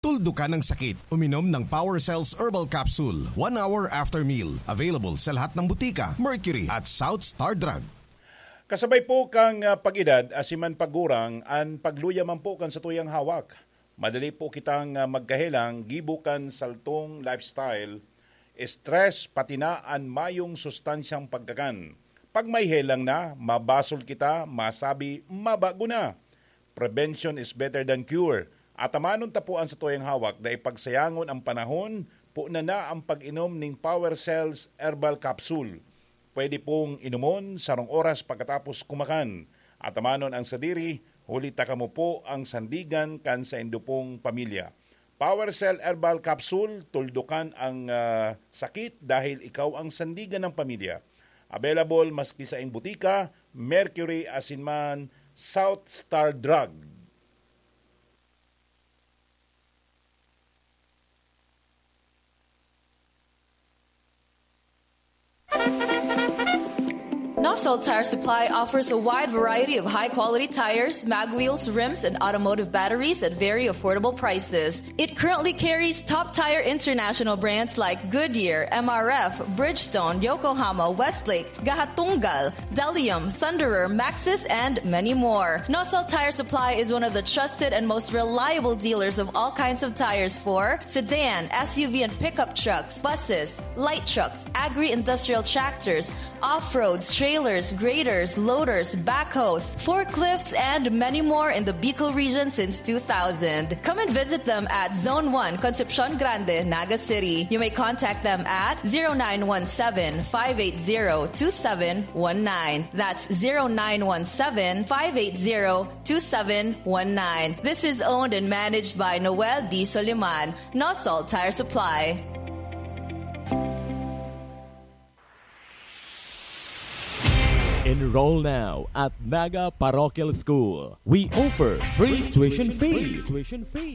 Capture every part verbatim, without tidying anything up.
Tuldukan ang sakit. Uminom ng Power Cells Herbal Capsule one hour after meal. Available sa lahat ng butika, Mercury at South Star Drug. Kasabay po kan, ah, pag-edad, asin man pagurang, an pagluya man po kan satuyang hawak. Madali po kitang, ah, magkahelang gibo kan saltong lifestyle, stress, pati na an mayong sustansyang pagkakan. Pag may helang na, mabasol kita, masabi, mabago na. Prevention is better than cure. Atamanon ta po an satuyang hawak, dai pagsayangon ang panahon, puna na ang pag-inom ning Power Cells Herbal Capsule. Pwede pong inomon sarong oras pagkatapos kumakan. Atamanon ang sadiri, huli ta kamo po ang sandigan kan saindo pong pamilya. Power Cell Herbal Capsule, tuldukan ang, ah, sakit dahil ikaw ang sandigan ng pamilya. Available maski sa butika, Mercury asin man South Star Drug. Nosol Tire Supply offers a wide variety of high-quality tires, mag wheels, rims, and automotive batteries at very affordable prices. It currently carries top tire international brands like Goodyear, M R F, Bridgestone, Yokohama, Westlake, Gahatunggal, Delium, Thunderer, Maxxis, and many more. Nosol Tire Supply is one of the trusted and most reliable dealers of all kinds of tires for sedan, S U V, and pickup trucks, buses, light trucks, agri-industrial tractors, off-roads, trailers, graders, loaders, backhoes, forklifts, and many more in the Bicol region since two thousand. Come and visit them at Zone one, Concepcion Grande, Naga City. You may contact them at zero nine one seven, five eight zero, two seven one nine. That's zero nine one seven, five eight zero, two seven one nine. This is owned and managed by Noel D. Soliman, Nosol Tire Supply. Enroll now at Naga Parochial School. We offer free tuition fee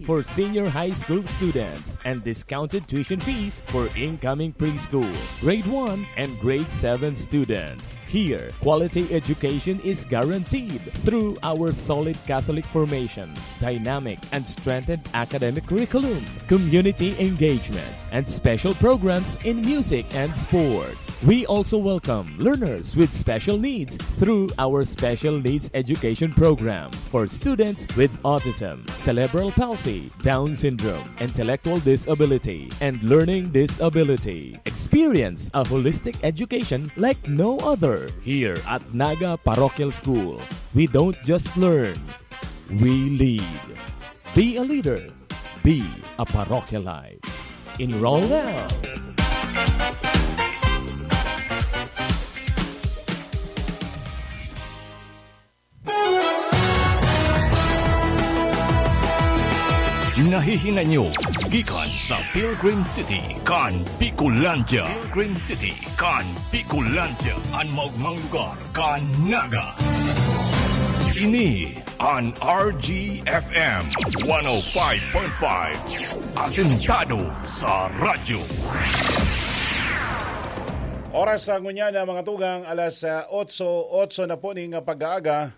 for senior high school students and discounted tuition fees for incoming preschool, grade one, and grade seven students. Here, quality education is guaranteed through our solid Catholic formation, dynamic and strengthened academic curriculum, community engagement, and special programs in music and sports. We also welcome learners with special needs through our Special Needs Education Program for students with autism, cerebral palsy, Down syndrome, intellectual disability, and learning disability. Experience a holistic education like no other here at Naga Parochial School. We don't just learn, we lead. Be a leader. Be a parochialite. Enroll now. Nahihinanyo gikan sa Pilgrim City kan Bicolandia. Pilgrim City kan Bicolandia, an maogmang lugar kan Naga. Ini an R G F M one oh five point five, asentado sa radyo. Oras sa ngunyan na mga tugang, alas, ah, otso, otso na po ning pag-aaga.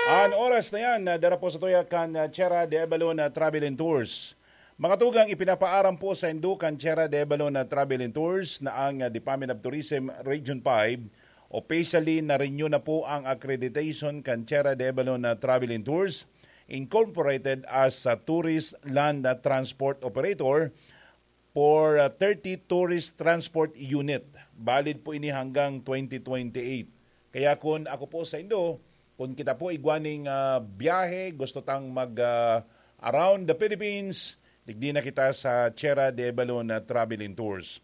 An oras na yan, ah, dara po sa tuya kan, ah, Tierra de Avalon, ah, Travel and Tours. Mga tugang, ipinapaaram po sa indo kan Tierra de Avalon, ah, Travel and Tours na ang, ah, Department of Tourism Region five, officially na-renew na po ang accreditation kan Tierra de Avalon, ah, Travel and Tours, Incorporated as a Tourist Land, ah, Transport Operator for, ah, thirty tourist transport unit. Valid po ini hanggang twenty twenty-eight. Kaya kun ako po sa indo, kun kita po igwa ning, ah, biyahe, gusto tang mag, ah, around the Philippines, digdi na kita sa Tierra de Avalon, ah, Travel and Tours.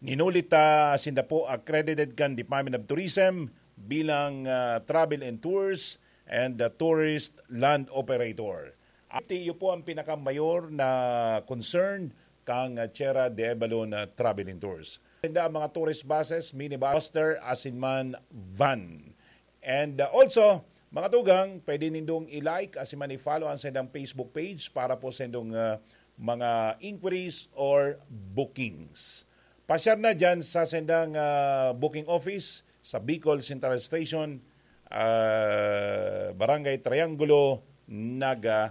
Ninulit ta sinda po accredited kan Department of Tourism bilang, ah, travel and tours and, ah, tourist land operator. At iyo po ang pinakamayor na concern kang, ah, Tierra de Avalon, ah, Travel and Tours. Sinda ang mga tourist buses, minibus, coaster, asin man van. And, uh, also, mga tugang, pwede nindong i-like asin man i-follow ang sendang Facebook page para po sendong, uh, mga inquiries or bookings. Pasyar na dyan sa sendang, uh, booking office sa Bicol Central Station, uh, Barangay Triangulo, Naga